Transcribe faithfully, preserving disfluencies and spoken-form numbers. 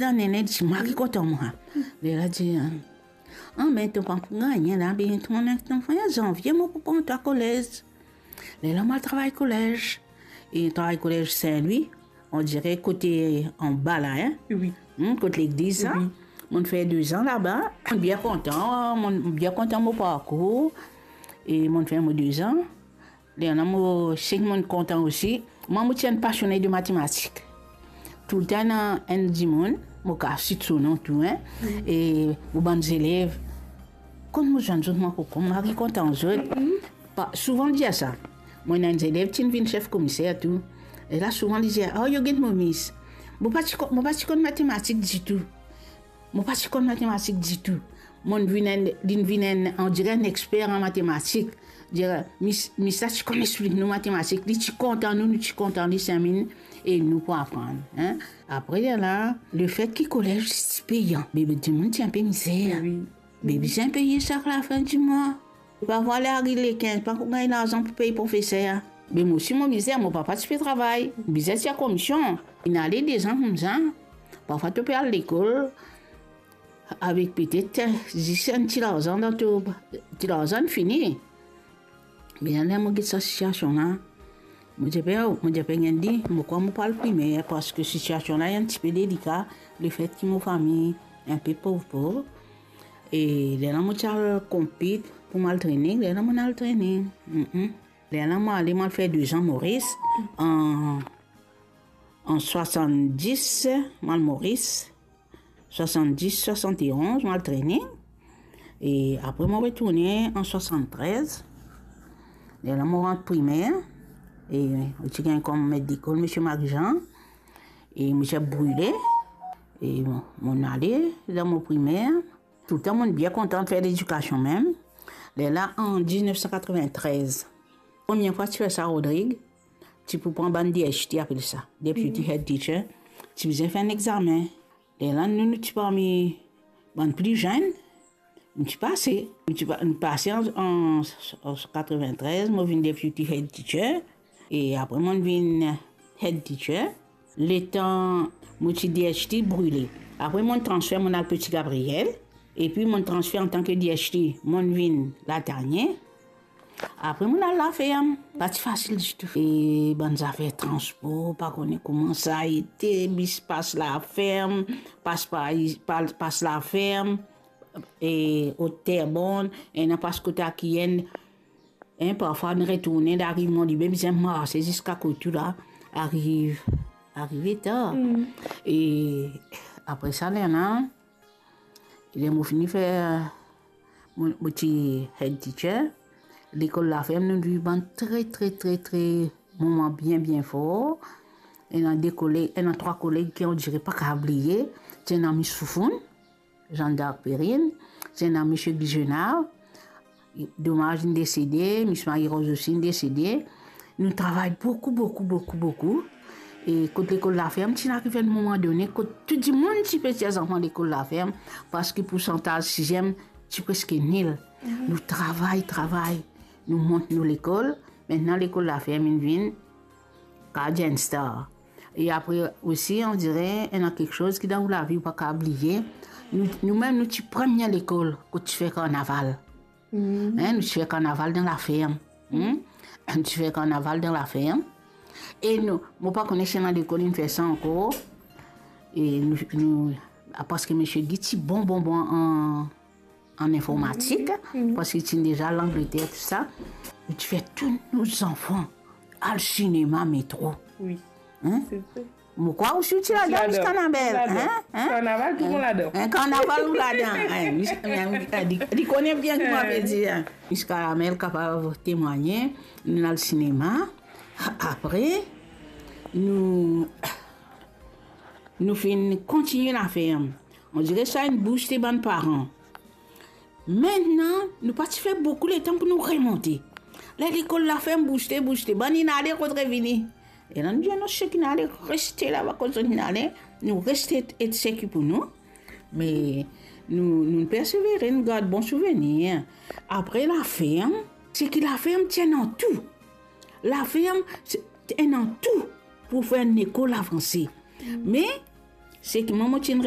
Zane, li dir, "Mwa ki kontan mwa." Lerla dir, "Ah, me to pa pou gagne la, be to ena zanvie, mo pou pran twa kolez." Lerla mo al travay kolez. E travay kolez Saint-Louis, on dirait kote anba la, hein? Wi. Hmm, kot legliz la. Wi. Mo fer de zan laba. Mo bien kontan, mo bien kontan mo parkour. E mo fer mo de zan. Lerla mo, seki mo kontan osi, mwa mo ti enn pasione de matematik. Toultan ena enn dimoun, mo kav sit so non tou, hein, e mo bann zelev, kot mo zwenn zot, mwa kokom, mwa ki kontan zot. Pa, souvan dir sa. Mo ena enn zelev ti vinn sef komiser tou. E la souvan li dir, "Oh, yo get mo mis." Mo pa ti ko-, mo pa ti konn matematik ditou. Mo pa ti konn matematik ditou. Mo vinn enn, li vinn enn, on dirait enn exper an matematik. Dir, mis, mis la ti konn explik nou matematik, li ti kontan nou, nou ti kontan li, semin, e nou pou aprann, hein. Apre la, lefet ki kolez ti peyan, be, be dimoun ti enpe mizer. Wi. Be bizin peye sak lafin di mwa. Parfwa, ler ariv le kinz, pa pou gagn larzan pou pey profeser. Be mo osi mo mizer, mo papa ti pe travay, bizin ti a komision. Inn ale de zan koumsa. Parfwa to pe al lekol avek petet zis enn ti larzan dan to, ti larzan fini. Me ler mo get sa sitiasion la, mo ti pe, mo ti pe gagn di, mo krwar mo pou al primer, parski sitiasion la enn tipe delika, lefet ki mo fami enpe pov pov. E lerla mo ti al konpit pou mo al training, lerla mo al training. Mm-mm. Lerla mo ale, mo al fer de zan Moris, an, an swasanndis, mo al Moris, swasanndis, swasann-e-onz, mo al training. E apre mo retourne an swasann-trez. Lerla mo rant primer. E mo ti gagn kom met lekol, Misie Marie-Jean. E mo ti brile. E mo, mo ale dan mo primer. Toultan mo bien kontan fer ledikasion mem. Lerla an diznef san katrovin-trez, premie fwa ti fer sa Rodrig, ti pou pran bann D H T, apel sa, Deputy Head Teacher, ti bizin fer enn examen. Lerla nou, nou ti parmi bann pli zenn, nou ti pase. Nou ti pa-, nou pase an, an, an katrovin-trez, mo vinn Deputy Head Teacher, e apre mo vinn Head Teacher. Letan mo ti D H T brile. Apre mo transfer, mo al Petit Gabriel, epi mo transfer antan ki D H T, mo vinn Latanye. Apre mo al laferm, pa ti fasil ditou. E bann zafer transpor, pa kone kouma sa ete, bis pas laferm, pas pa, pa, pas laferm, e ot Terrebonne, ena pas kot Akienn, hein, parfwa nou retourne, ariv Mont Liber, bizin marse ziska Kotou la, ariv, arive tar. Mm. E apre sa, lerla, ler mo fini fer, mo, mo ti head teacher, lekol laferm, nou viv bann tre, tre, tre, tre moman bien, bien for. Ena de koleg, ena trwa koleg ki on dirait pa kav bliye, ti ena Miss Foufoun, Jeanne d'Arc Perrine, ti ena Misie Guy Genard, domaz, linn desede, Miss Marie-Rose osi, linn desede. Nou travay boukou, boukou, boukou, boukou. E kot lekol laferm, ti ariv enn moman done, kot tou dimoun ti pe tir zanfan lekol laferm, parski poursantaz siziem ti preske nil. Mhm. Nou travay, travay, nou mont nou lekol. Aster lekol laferm inn vinn Guardian Star. E apre osi, on dirait, ena kiksoz ki dan ou lavi ou pa kav bliye. Nou, nou mem, nou ti premie lekol kot ti fer karnaval. Mm. Hein, nou ti fer karnaval dan laferm. Hmm? Nou ti fer karnaval dan laferm. E nou, mo pa kone si ena lekol inn fer sa ankor. E nou, nou, parski Misie Guy ti bon, bon, bon an an informatik, mhm, parski ti deza Langleter, tou sa. Nou ti fer tou nou zanfan al sinema Metro. Wi. Hein? Se vre. Mo krwar osi ou ti ladan, Miss Kanabel, hein? Hein? Karnaval, tou moun ladan. Hein, karnaval ou ladan. Hein, Miss, hein, li, li kone bien ki mo pe dir, hein. Miss Kanabel kapav temwagne, nou al sinema. Apre, nou, nou finn kontigne laferm. On dirait sa inn bouste bann paran. Aster, nou pa ti fer boukou letan pou nou remonte. Ler lekol laferm bouste, bouste, bann inn ale, kot revini. E la nou dir, "Non, seki inn ale, reste laba kot zot inn ale." Nou reste et, et seki pou nou. Me nou, nou persevere, nou gard bon souvenir. Apre laferm, seki laferm ti ena tou. Laferm, se, ti ena tou pou fer enn lekol avanse. Mm. Me Seki mwa mo ti'nn